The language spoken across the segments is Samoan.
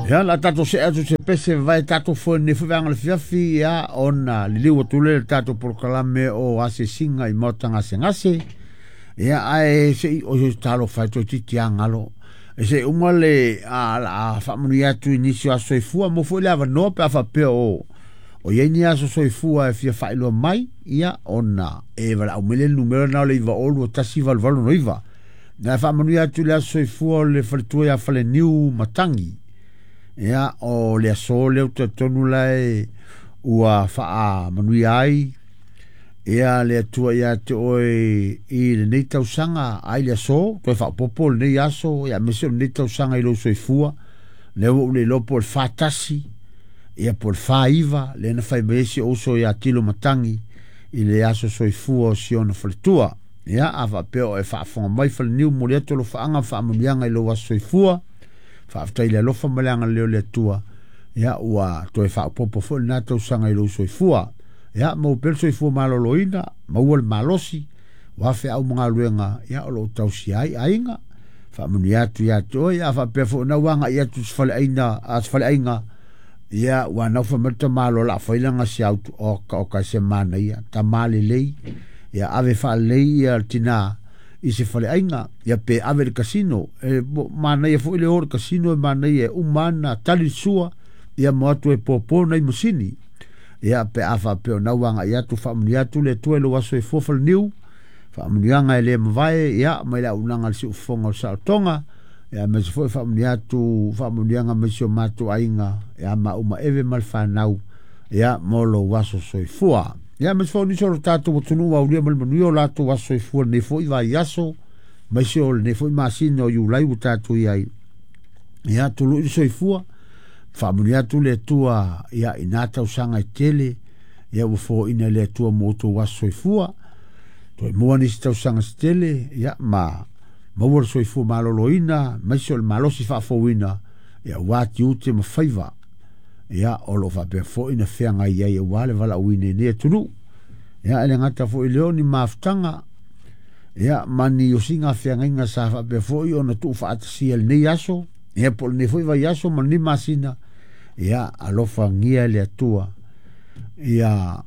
Ia, la tatou see atu se pese vai tatou foi nei foi vaega o le fiafi, ia, ona liliu atu lea i le tatou polokalame o asiasiga i maota gasegase. Ia, ae se i o se talofa e toeitiiti lava galo. E se i uma le a, la a faamanuia atu i nisi o aso soifua mo foi le avanoa pe a faapea o i ai ni aso soifua e fia faailoa mai, ia, ona e valaau mai lea i le numera lena o le 902 1889. Na faamanuia atu i le aso soifua o le faletua ia Faleniu Matangi. Ia, o le aso lea ou te talitonu la e ua faamanuia ai ia le Atua ia te oe i lenei tausaga ai le aso toe faaopoopo lenei aso, ia aemaise o lenei tausaga i lou soifua. Lea ua ou le iloa po o le 41 ia po o le 49 lea na fai mai ai si ou uso ia Tilo Matangi i le aso soifua o si ona faletua. Ia, a faapea o e faafofoga mai Faleniu, momoli atu alofaaga ma faamanuiaga i lou aso soifua. Faafetai i le alofa ma le agalelei o le Atua, ia ua toe faaopoopo foi lena tausaga i lou soifua. Ia, maua pea le soifua maloloina, maua le malosi, ua feau ma galuega, ia o loo tausia ai aiga. Faamanuia atu ia te oe. A faapea foi na ua agai atu se faleaiga a se faleaiga, ia ua nau fai mai le tamaloa la fai lana se autu oka oka se manaia tama lelei, ia ave faalelei ia le tina i se faleaiga, ia pe ave i le kasino e manaia foi le o le kasino e manaia e uma ana tali le sua, ia mo atu e popo nai masini. Ia pe a faapea o nau agai atu, faamanuia atu le Atua i lou aso soifua Faleniu, faamanuiaga e le mavae, ia mai le auaunaga a le Siufofoga o le Saolotoga, ia aemaise foi faamanuia atu faamanuiaga mai si o matou aiga ia mauma eve ma le fanau, ia mo lou aso soifua. Ia aemaise foi o nisi o lo tatou atunuu ua aulia ma le manuia o latou aso soifua lenei foi vaiaso, aemaise o lenei foi masina o Iulai ua tatou i ai. Ia tului le soifua, faamanuia atu le Atua ia i na tausaga e tele, ia ua foaiina e le Atua mo outou aso soifua. Toe maua nisi tausaga se tele, ia ma maua le soifua maloloina, aemaise o le malosi faafouina, ia aua tiute ma faiva, ia o lo o faapea foi na feagai ai aua le valaauina i lenei atunuu. Ia e le gata foi i lea o ni mafutaga, ia ma ni osiga feagaiga sa faapea foi ona tuufaatasia i lenei aso, ia po o lenei foi vaiaso ma lenei masina, ia alofagia e le Atua ia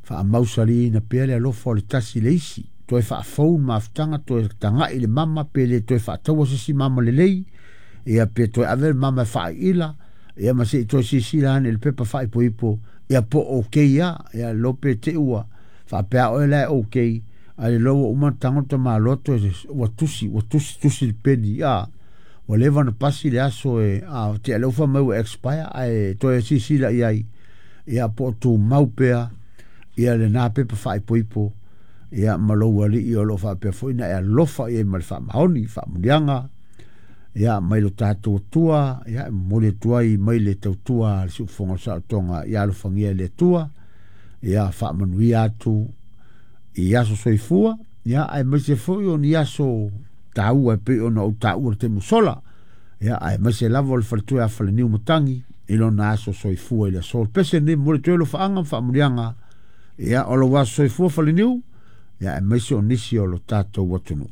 faamausaliina pea le alofa o le tasi i le isi, toe faafou le mafutaga, toe tagai le mama pe le toe faataua se isi mama lelei, ia pe toe ave le mama e faaiila, ia ma se i toe silasila ane i le pepa faaipoipo, ia po o okay lava. Ia lo pe te i ua faapea oe la e okay, ae le iloa ua uma ona tago le tamaloa toe ua tusi ua tusi tusi le peni a ua leva ona pasi le aso e a tea lea ua fai mai ua expire, ae toe silasila i ai, ia po o tumau pea ia lena pepa faaipoipo, ia ma lou alii o lo o faapea foi na e alofa i ai ma le faamaoni faamanuiaga, ia mai lo tatou Atua. Ia e momoli atu ai mai le tautua a le Siufofoga o le Saolotoga, ia alofagia e le Atua, ia faamanuia atu i aso soifua, ia aemaise foi o ni aso taua e pei ona ou taua i le taimi ua sola, ia aemaise lava o le faletua ia Faleniu Matangi i lona aso soifua i le aso. O le pese lenei, momoli atu ai alofaaga ma faamanuiaga, ia o lou aso soifua Faleniu, ia aemaise o nisi o lo tatou atunuu.